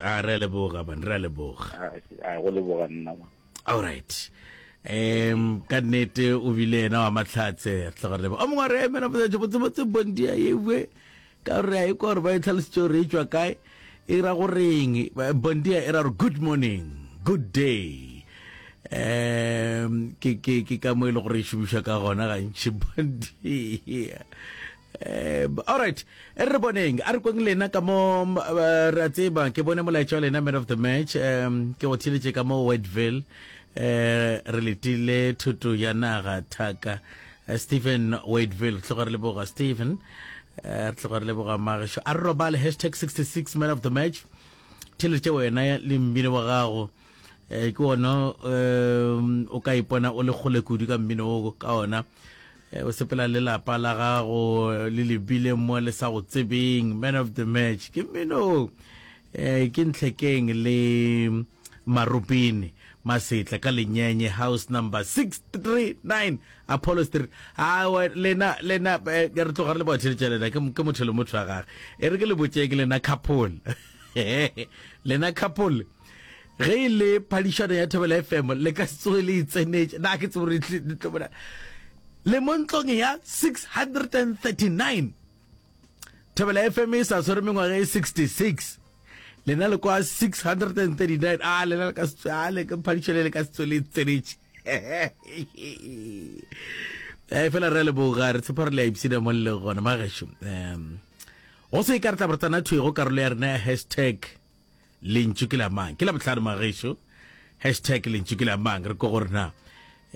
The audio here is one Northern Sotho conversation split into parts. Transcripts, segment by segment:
A re a leboga man, re a leboga. A go leboga nna man. All right. Um ka nnete o bile yena wa mahlatse tloga re leboga. O mongwe a re emela botse botse botse bondia yewe ka gore a ikwa gore ba e tlhalositse gore e tšwa kae e ra goreng bondia e ra gore good morning good day um ke ke ke ka mo e le gore e šomišwa ka gona gantši bondia Um, all right e re boneng a re kweng lena ka mo eh, re a tseba ke bone molaetša wa lena man of the match um ke go theletše ka mo Wordville um re letile thuto ya naga thaka eh, Stephen Wadeville tloga re leboga Stephen eh, re tloga re leboga magešo a re robale hashtag 66 man of the match theletše wena le mmino wa gago eh ke ona um o ka ipona o le kgole kudu ka mmino o ka ona eh, o sepela le lapa la gago le lebile mo le sa go tsebeng man of the match ke mmino eh ke ntlhekeng le marupini masetla ka lenyenye house number 639 apollo street a lena lena eh, re tloga re le batheletša lena ke motho le motho wa gage e re ke le botšeng lena couple lena couple Ge e le phadišano ya Thobela FM le ka se tsoge le e tsenetše. Na ke tsebe gore le tlo bona. Le mo ntlong ya 639. Thobela FM e sa tshwere mengwaga e 66. Lena le kwa 639. A lena le ka se a le ka phadišano le ka se tsoge le e tsenetše. Eh fela re leboga re tshepa re le a ipshina mo le leng gona magešo. Um go se ka re tla re tsena thwi go karolo ya rena ya hashtag Lentšu ke la mang? Ke la bohlano magešo. Hashtag lentšu ke la mang? Re ko gore na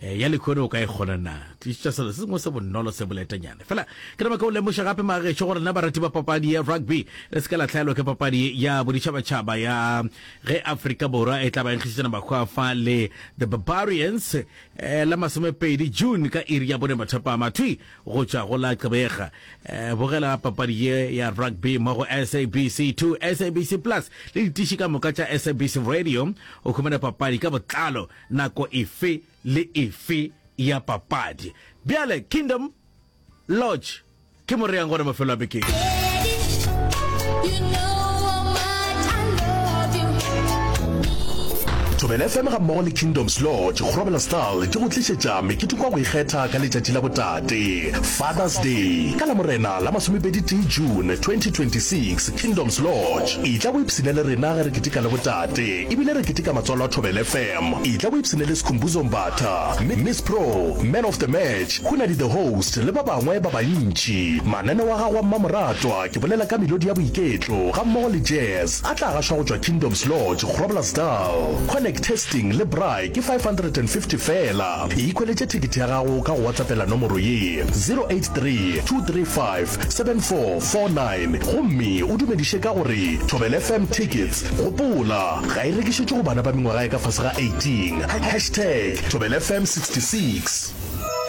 eh, ya lekhono o ka e kgona na? Tlišitša selo se sengwe se bonolo se boletanyana. Fela ke nama ke o lemoša gape magešo gore na barati ba papadi ya rugby le se ka la hlaelwa ke papadi ya boditšhabatšhaba ya ge Afrika Borwa e tla ba nkgišetšana mahwafa le the Barbarians eh, la masomepedi June ka iri ya bone mathapama thwi go tšwa go la Gqeberha. Eh, bogela papadi ye ya rugby mo go SABC 2, SABC Plus le ditiši ka moka tša SABC Radio. O humana papadi ka botlalo nako efe le efe ya papadi. Bjale Kingdom Lodge ke mo re yang gona mafelo a bekeng. Thobela FM gammogo le Kingdoms Lodge, Groblersdal di go tlišetša meketeko ya go ikgetha ka letšatši la botate, Father's Day, ka Lamorena la masomepedi-tee June 2026, Kingdoms Lodge. Etla o ipshine le rena ge re keteka le botate ebile re keteka matswalo a Thobela FM. Etla o ipshine le Skhumbuzo Mbatha, Miss Pro, Man of the Match, Hunadi the Host le ba bangwe ba bantši. Mananeo a gago a mmamoratwa ke bolela ka melodi ya boiketlo gammogo le jazz a tla gašwa go tšwa Kingdoms Lodge, Groblersdal. Connect Testing le Braai ke 550 feela. Ikhweletše thekethe ya gago ka go WhatsAppela nomoro ye, 083 235 7449 gomme o dumediše ka gore Thobela FM Tickets. Gopola, ga e rekišetšwe go bana ba mengwaga ya ka fase ga 18. Hashtag Thobela FM 66.